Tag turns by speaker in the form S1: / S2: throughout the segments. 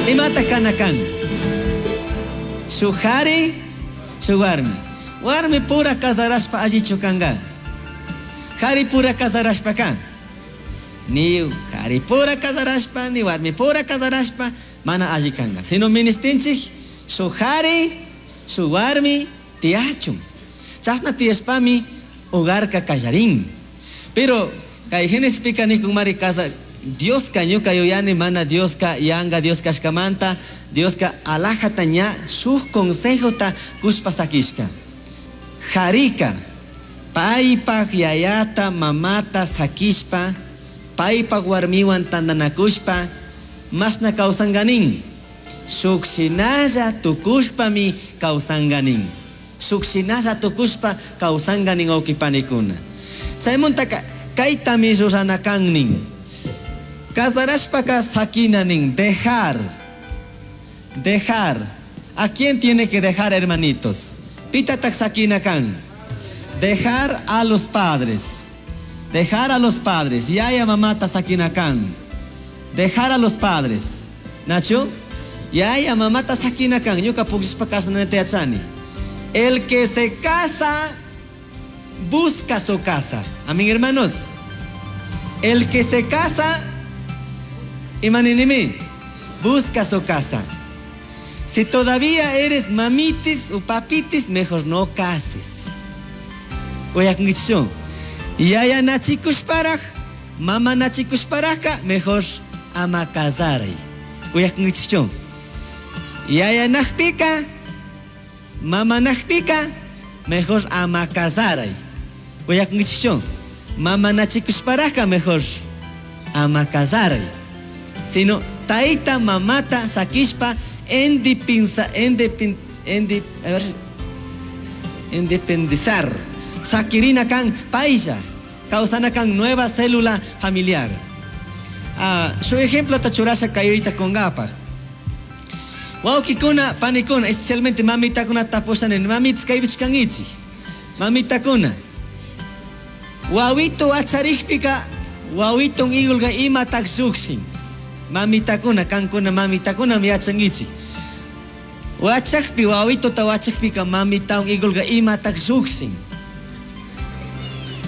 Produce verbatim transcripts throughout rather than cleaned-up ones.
S1: Imata kana kan? Shuk jari, shuk warmi. Warmi pura casarashpa allichu kanga. Jari pura casarashpa kan. Ni jari pura casarashpa, ni warmi pura casarashpa, mana alli kanga. Sino ministinchik, shuk jari, shuk warmi tiyachun. Chashna tiyashpami hogarka kallarin. Pero kay Génesispika nikun mari casa Dioska ñuka yuyani mana Dioska yanga Dios kashkamanta Dioska alajata ña shuk consejota kushpa sakishka. Jarika paypak yayata mamata sakishpa paypak warmiwan tantanakushpa mashna kawsanganin shuk shinalla tukushpami kawsanganin shuk shinalla tukushpa kawsanganin wawqipanikuna. Chaymuntaka kaytami rurana kan nin. Casarashpaka sakina nin, dejar, dejar. ¿A quién tiene que dejar, hermanitos? Pitatak sakina kan. Dejar a los padres. Dejar a los padres. Yaya mamata sakina kan. Dejar a los padres. Nacho? Yaya mamata sakina kan. Ñuka pukllishpa kasanata yachani. El que se casa, busca su casa. Amén, hermanos. El que se casa, imaninimi, busca su casa. Si todavía eres mamitis o papitis, mejor no cases. Uyakungichu. Yaya nachikushparaj, mama nachikushparajka, mejor ama casaray. Uyakungichu. Yaya najpika, mama najpika, mejor ama casaray. Uyakungichu. Mama nachikushparajka, mejor ama casaray. Sino taita mamata sakishpa endipinsa, endipin, endip, a ver, independizar. Sakirina kan paisa, causana kan nueva célula familiar. Ah, su ejemplo ta churasha kayuita kongapaj. Wawkikuna, panikuna, especialmente mamitakuna tapushanin, mamitas kaypichkankichik. Mamitakuna. Wawito acharikpika, wawiton igulga imatak llukshin. Mamitakuna, kankuna, mamitakuna yachankichik. Wachakpi, wawitota wachakpika, mamitawan igulga imatak llukshin.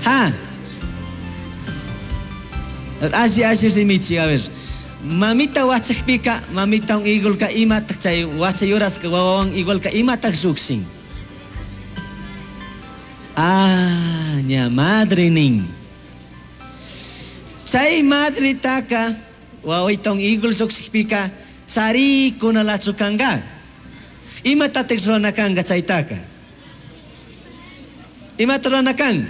S1: Ha. Alli, alli rimichi, a ver. Mamita wachakpika, mamitawan igulka imatak chay wachayuraska wawawan igualka imatak llukshin. Ah, ña madre nin. Chay madritaka wawitawan igul llukshikpika charikunalachu kanka. Imatatik rurana kanka chaytaka? Imata rurana kan?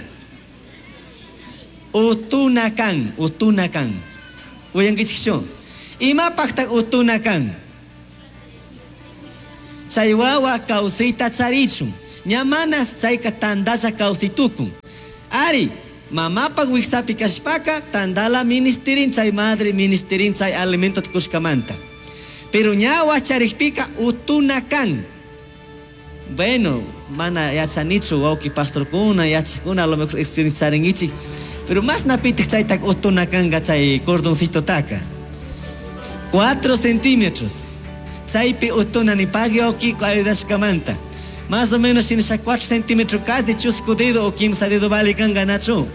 S1: Utuna kan, utuna kan. Uyankichikchu? Imapaqtaq utuna kan? Chay wawa kawsayta charichun. Ña manas chayka tandalla kawsaytukun. Ari, mamapaq wiksapi kashpaka tandala ministerin chay madre ministerin chay alimento kushkamanta. Pero ña wacharikpika utuna kan. Bueno, mana yachanichu wawqi pastorkuna, yachakuna a lo mejor experiencia charinkichik. Pero más napitik chaytak utuna kanka chay cordoncito taka. Cuatro centímetros. Chaypi utuna ni pagui wawqi ayudashkamanta. Más o menos shinasha cuatro centímetros casi chusku dedo o kimsa dedo vale kanga nachu.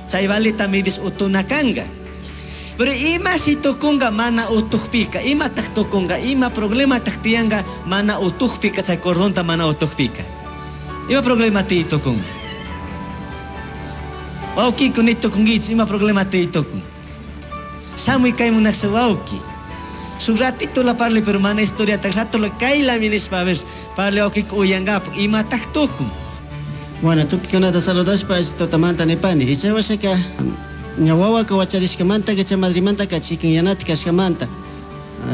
S1: Chay valeta midis utuna kanga. Pero ima si tukunga mana utukpika, ima tak tukunga, ima problema tak tianga mana utukpika chay cordonta mana utukpika. Ima problema ti tukunga. Wawqi ni tukungichi, ima problema ti tukun. Shamuy kay munaksa wawqi. Su ratito la parle, pero mana historia tak rato la kayla minishpa, a ver, parle wawqi uyangapak, ima tak tukun.
S2: Bueno, tukikunata saludashpa totamanta nipani. Ichawashaka ña wawaka wacharishkamanta chay madrimanta chikanyanata kashkamanta.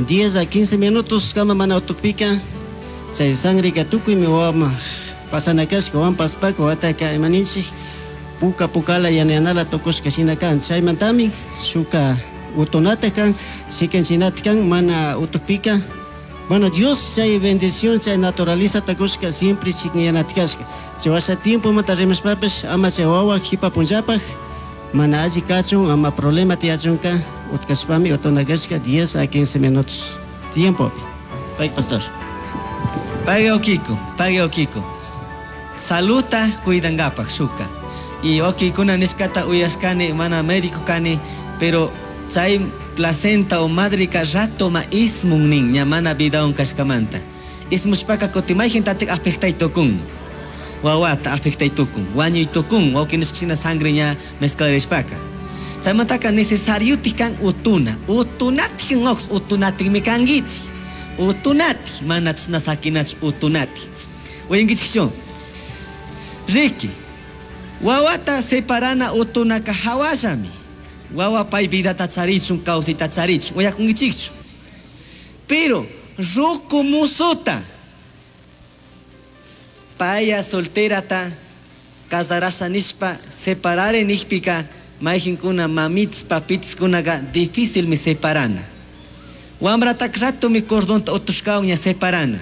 S2: diez a quince minutos kama mana utukpika chay sangreka tukuymi wawama pasana kashka wawan paspaka wawataka imaninchik puka pukala yana yanala tukushka shina kan. Chaymantami shuka utunata kan, chikanchinata kan mana utukpika. Bueno, Dios chay bendición chay naturaleza takushka siempre chikanyanata kashka. Chay washa tiempo manta rimashpapish ama chay wawa jipa punllapaj mana alli kachun ama problema tiyachunka utkashpami utuna kashka diez a quince minutos. Tiempo. Pay pastor.
S1: Pague okiko, pague okiko. Saluta cuidangapak shuka. Y okikuna nishkata uyashkani mana médico kani, pero chay placenta o madrika rato ma ismun nin ña mana vidawan kashkamanta. Ismushpaka kutin mayjintatik afectay tukun. Wawata afectay tukun, wañuy tukun, wawki nishkashina sangre ña mezclarishpaka. Chaymantaka necesario kan utuna, utunatik nox utunatikmi kankichik. Utunati, mana chashna sakinach utunati. Uyankichikchu? Riki, wawata separana utunaka hawallami. Wawa pay vidata charichun, kawsayta charichun, uyakunkichikchu. Pero ruku musuta paya solterata casarasha nishpa separare nishpika mayjinkuna mamits papitskunaka difícilmi separana. Wamratak ratomi cordonta utushkawan ña separana.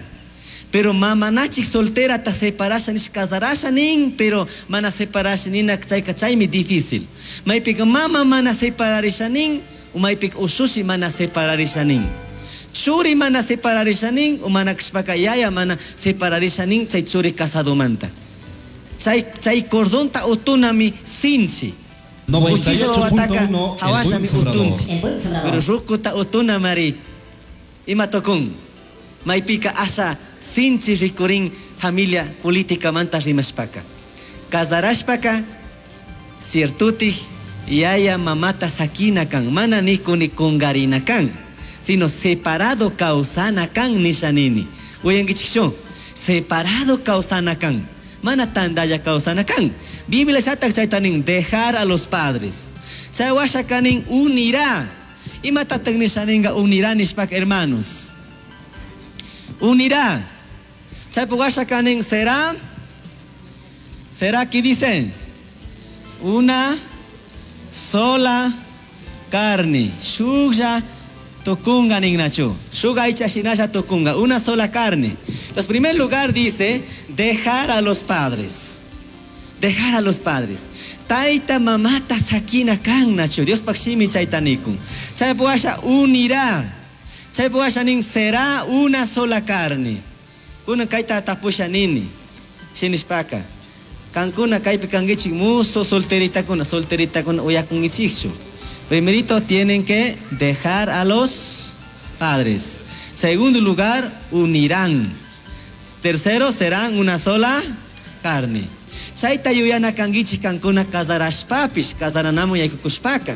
S1: Pero mamanachik solterata separasha nish casarasha nin, pero mana separasha nina chayka chaymi difícil. Maypika mama mana separarisha nin, u maypika ushushi mana separarisha nin. Churi mana separarisha nin, u mana kashpaka yaya mana separarisha nin chay churi casadomanta. Chay, chay cordonta utunami sinchi.
S3: noventa y ocho punto uno
S1: Uchilla
S3: El
S1: hawashami
S3: Buen Sembrador.
S1: utunchi.
S4: El Buen Sembrador.
S1: Pero rukuta utuna mari ima tukun. Maypika asha sinchi rikurin familia política manta rimashpaka. Casarashpaka ciertutik yaya mamata sakina kan, mana nikuni kungarina kan, sino separado kawsana kan nishanini. Uyankichikchu? Separado kawsana kan, mana tandalla kawsana kan. Biblia shatak chayta nin, dejar a los padres. Chay washa kanin unirá. Imatatak nishaninga unirá nishpaka, hermanos? Unirá. Chaypa washa kanin será, será que dicen una sola carne. Shuklla tukunga ningnachu. Shuk aycha shinalla tukunga. Una sola carne. Entonces, en primer lugar dice, dejar a los padres. Dejar a los padres. Taita mamata sakina kan nachu. Diospaj shimi chayta nikun. Chaypa washa unirá. Chaypa washa nin será una sola carne. Kuna kayta tapusha nini. Shinishpaka. Kankuna kaypi kankichik muso solteritakuna, solteritakuna uyakunkichikchu. Primerito tienen que dejar a los padres. Segundo lugar, unirán. Tercero, serán una sola carne. Chayta yuyana kankichik kankuna casarashpapish, casaranamun yaykukushpaka.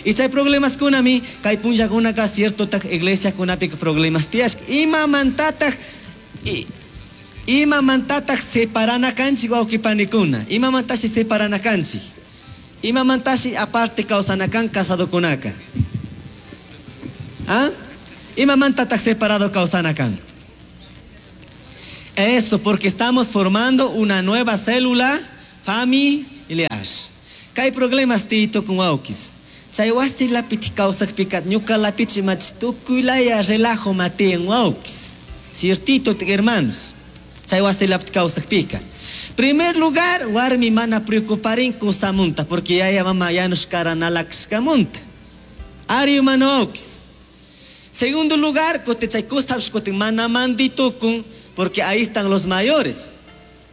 S1: Y chay problemas kunami, kay punllakunaka cierto tak iglesia kunapika problemas tiyashka. Imamantatak, i, imamantatak separana kanchik wawqipanikuna. Imamantashi separana kanchik. Imamantashi aparte kawsana kan casadokunaka. ¿Ah? Imamantatak separado kawsana kan. Eso, porque estamos formando una nueva célula familiar. Kay problemas tito con wawkis. Chay wasi lapiti kawsakpika ñuka lapichi machi tukuylaya relajo matiyan wawkis. Ciertito, hermanos. Chay wasi lapiti kawsakpika. Primer lugar, warmi mana preocuparin kusamunta, porque yaya mama yanush karanalakshkamunta. Ari mano wawkis. Segundo lugar, kutin chay kusapish kutin mana manditukun, porque ahí están los mayores.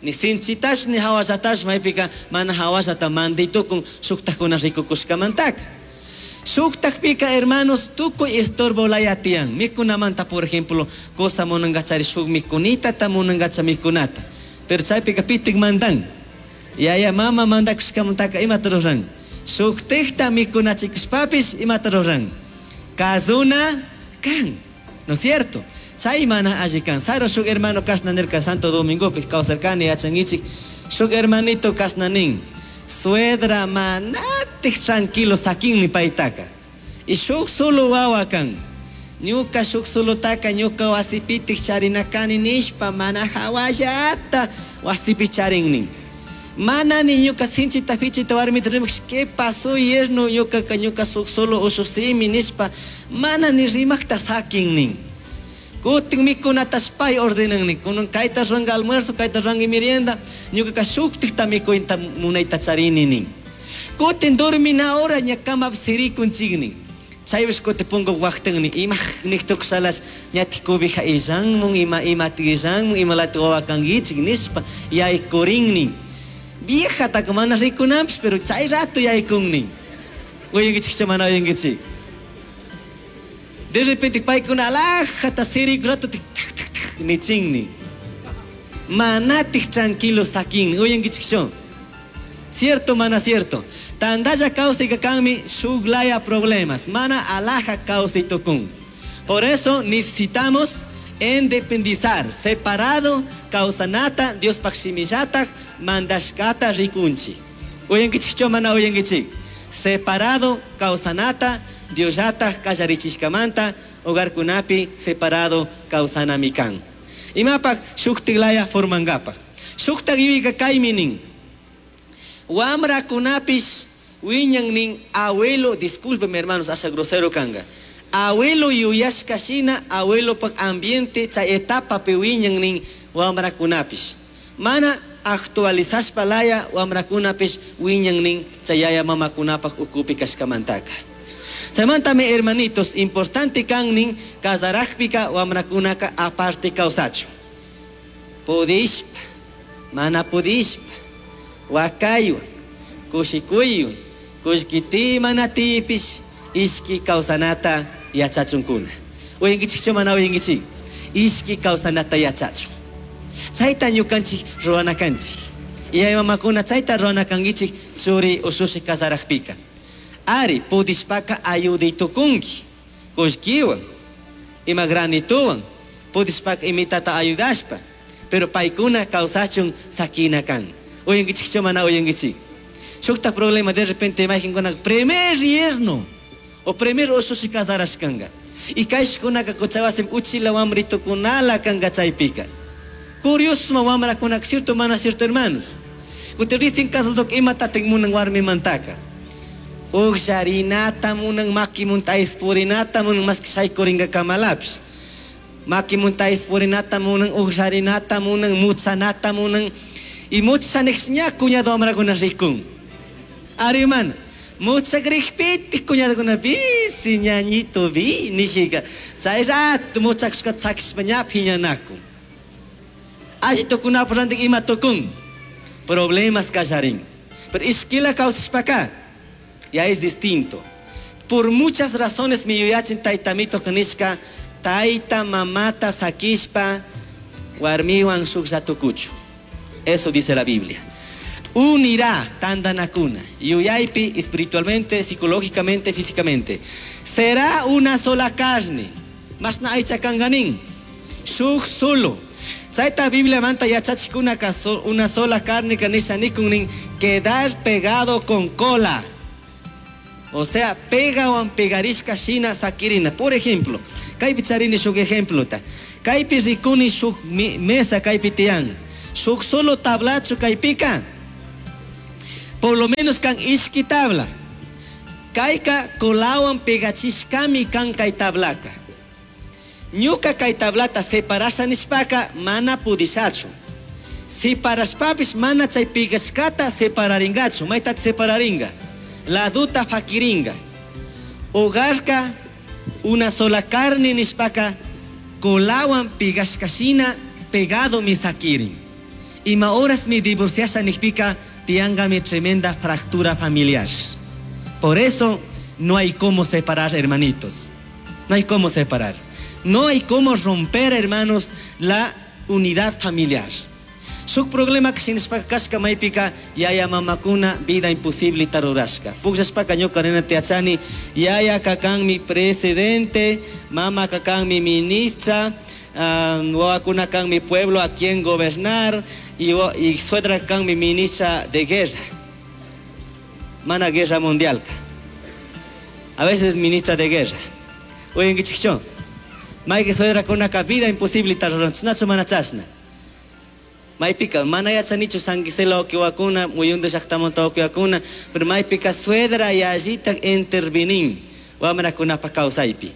S1: Ni sinchitash ni hawallatash maypika mana hawallata manditukun shuktakuna rikukushkamantaka. Shuktakpika, hermanos, tukuy estorbo laya tiyan. Mikunamanta, por ejemplo, cosa munangachari shuk mikunita ta munangacha mikunata. Pero chaypika pitik mandan. Yaya mama mandakushkamantaka imata ruran. Shuktikta mikunachikushpapish imata ruran. Kazuna kan. ¿No es cierto? Chay mana alli kan. Saro shuk hermano kashna nirka Santo Domingo pis kawsarkani yachankichik. Shuk hermanito kashna nin. Suedra manatik tranquilo sakinmi paytaka. Y shuk solo wawa kan. Ñuka shuk solotaka ñuka wasipitik charinakani nishpa mana hawallata wasipi charin nin. Mana ni ñuka sinchita fichita warmita rimak, ¿qué pasó yerno? Ñuka ka ñuka shuk solo ushusimi nishpa mana ni rimakta sakin nin. Kutin mikunatash pay ordenan nin. Kunan kayta ruranka almuerzo, kayta ruranka merienda, ñuka ka shuktikta mikuyta munayta charini nin. Kutin dormina hora ña kamapi sirikunchik nin. Chaypish kuti punku waqtinni ima niqtukushalash ñatik cobija illanmun ima imatik illanmun imalati wawa kankichik nishpa yaykurinnin. Viejataka mana rikunanpish pero chay rato yaykunnin. Uyankichikchu mana uyankichik? De repente paykuna alajata siriku rato tak tak tak nichinnin. Manatik tranquilo sakin. Uyankichikchu? Cierto, mana cierto. Tandalla kawsayka kanmi shuklaya problemas. Mana alaja kawsay tukun. Por eso necesitamos independizar, separado kawsanata Diospaj shimillataj mandashkata rikunchik. Uyankichikchu mana uyankichik? Separado kawsanata Diosllataj kallarichishkamanta hogarkunapi separado kawsanami kan. Imapak shuktiklaya formangapak. Shuktak yuyayka kaymi nin. Wamrakunapish wiñan nin abuelo, discúlpeme hermanos, asha grosero kanga. Abuelo yuyashka shina abuelopak ambiente chay etapapi wiñan nin wamrakunapish. Mana actualizashpa laya wamrakunapish wiñan nin chay yaya mamakunapak ukupi kashkamantaka. Chaymantami hermanitos, importante kan nin kasarakpika wamrakunaka aparte kawsachun. Pudishpa, mana pudishpa, wakaywan, kushikuywan, kullki mana tipish, ishki kawsanata yachachunkuna. Uyankichikchu mana uyankichik? Ishki kawsanata yachachun. Chayta ñukanchik ruwana kanchik. Yaya mamakuna chayta ruwana kankichik churi ushushi kasarakpika. Ari pudishpaka ayuday tukunki, kullkiwan, ima granituwan, pudishpaka imitata ayudashpa, pero paykuna kawsachun sakina kan. Uyankichikchu mana uyankichik? Shukta problema de repente imaginkuna primer yerno o primer ushushi kasarashkanga. Y kayshkunaka kuchawasim uchila wamritukunala kanga chaypika. Curioso wamrakunaka, cierto mana cierto hermanos. Kutin recién casadok imatatik munan warmimantaka. Ugsharinata munan makimunta ispurinata munan maski shaykuringa kamalapish. Makimunta ispurinata munan ugsharinata munan mutsanata munan. Y mutsanikshña cuñado wamrakuna rikun. Ari mana. Mutsakrikpitik cuñadokuna bisi ñañito bi nijika. Chay rato mutsakushkata sakishpa ña phiñanakun. Alli tukunapak rantik ima tukun. Problemas kallarin. Pero ishkila kawsashpaka ya es distinto. Por muchas razones mi yuyachin taytamito kanishka tayta mamata sakishpa warmiwan shuklla tukuchu. Eso dice la Biblia. Unirá tandanakuna, yuyaypi, espiritualmente, psicológicamente, físicamente. Será una sola carne. Masna aycha kanganin. Shuk solo. Chayta Biblia manta yachachikuna una sola carne kanisha nikunin quedar pegado con cola. O sea, pegawan pegarishka shina sakirina. Por ejemplo, kaypi charini shuk ejemplo ta. Kaypi rikuni shuk mesa kaypi tiyan. Shuk solo tablachu kaypika. Por lo menos kan ishki tabla. Kayka colawan pegachishkami kan kay tablaka. Ñuka kay tablata separasha nishpaka mana pudishachu. Separashpapish mana chay pegashkata separaringachu. Mayta separaringa. Laduta fakiringa. Hogarka una sola carne nishpaka colawan pegashkashina pegado mi sakirin. Ima horas mi divorciasha nishpika tianga mi tremenda fractura familiar. Por eso no hay cómo separar, hermanitos. No hay cómo separar. No hay cómo romper, hermanos, la unidad familiar. Shuk problema shinashpaka kashka maypika yaya mamakuna vida imposible tarurashka. Pukllashpaka ñuka rinata yachani yaya kakanmi presidente, mama kakanmi ministra, um, wawakuna kanmi pueblo a quien gobernar y, y suegra kanmi ministra de guerra. Mana guerra mundial. A veces ministra de guerra. Uyankichikchu? Mayki suedrakunaka vida imposible taruran, chashnachu mana chashna. Maypika mana yachanichu San Gisela ukiwakuna, muyunda llaktamanta ukiwakuna, pero maypika suegra yallita intervenin wamrakunapa kawsaypi.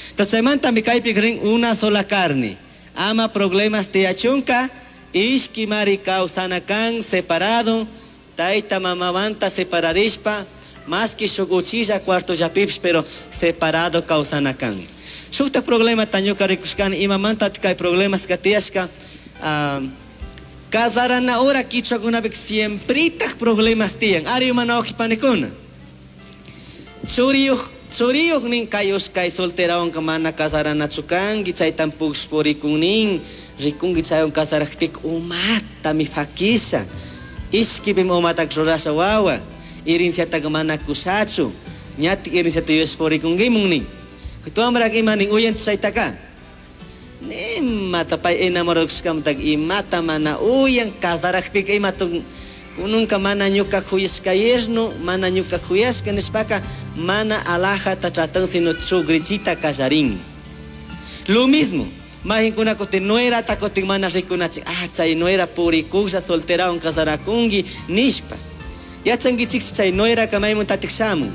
S1: Entonces chaymantami kaypi rin una sola carne. Ama problemas tiyachunka, ishki mari kawsana kan separado, tayta mamamanta separarishpa, Más que shuk uchilla cuartollapipish, pero separado kawsana kan. Shukta problemata ñuka rikushkani, imamanta kay problemas tiyashka, uh, casarana hora kichwakunapika siempretak problemas tiyan. Ari mana panikuna. Churiyuq churiyuq nin kay kay solterawanka mana casaranachu kanki, chaytan push purikun nin, rikunki chaywan casarakpika umatami fakisha. Ishkipimi umatak rurasha wawa, herenciataka mana kushachu, ñatik herenciata yuyashpa purikunkimun nin. Wambraka ima nin uyanchu chaytaka? Nimata pay enamorado kashkamantaka imata mana uyan, casarakpika ima kununka mana ñuka kuyashka yerno, mana ñuka kuyashka nishpaka mana alajata tratan sino chugrichita kallarin. Lo mismo, majinkuna kutin nuerata kutin mana rikunachik, ah chay nuera purikuklla solterawan casarakunki nishpa. Yachankichik chay nueraka maymuntatik shamun.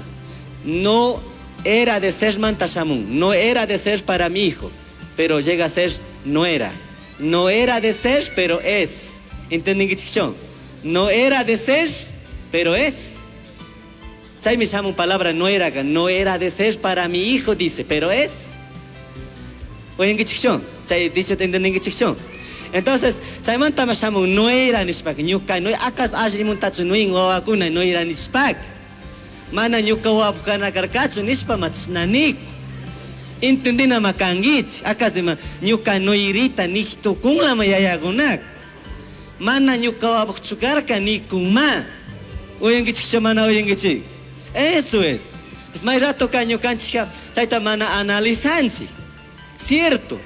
S1: No era de ser manta shamun, no era de ser para mi hijo, pero llega a ser nuera. No era de ser, pero es. ¿Entendinkichikchu? No era de ser, pero es. Chaymi shamun palabra nuera, no era de ser para mi hijo, dice, pero es. Uyankichikchu? Chay dicho entendinkichikchu? Entonces, chaymanta shamun nuera nishpaka, ñuka no akas allimuntachu nuin wawakuna nuera nishpaka. Mana ñuka wawapuk kana karkachu nishpa machashna niku. Entendina makankichik, akas ima ñuka nuirita nik tukunlama yayakunaka. Mana ñuka wawapukchu karka nikunma. Uyankichikchu mana uyankichik? Eso es. Es may rato ka ñukanchikka chayta mana analizanchik. Cierto.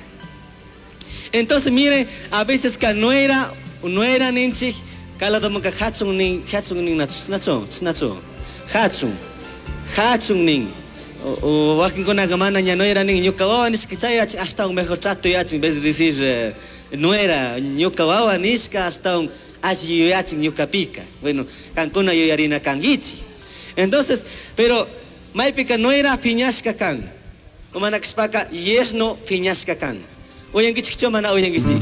S1: Entonces, miren, a veces ka nuera, nuera ninchik, kaladomanka hatun nin, hatun nin nachu, nachu, nachu, hatun, hatun nin. O, o wakinkunaka mana ña nuera nin, ñuka wawa nishka chay yachin, ashtawan mejor trato yachin, en vez de decir eh, nuera, ñuka wawa nishka, ashtawan alli yuyachin ñukapika. Bueno, kankuna yuyarina kankichik. Entonces, pero maypika nuera piñashka kan. O mana kashpaka yerno piñashka kan. Uyankichikchu mana uyankichik?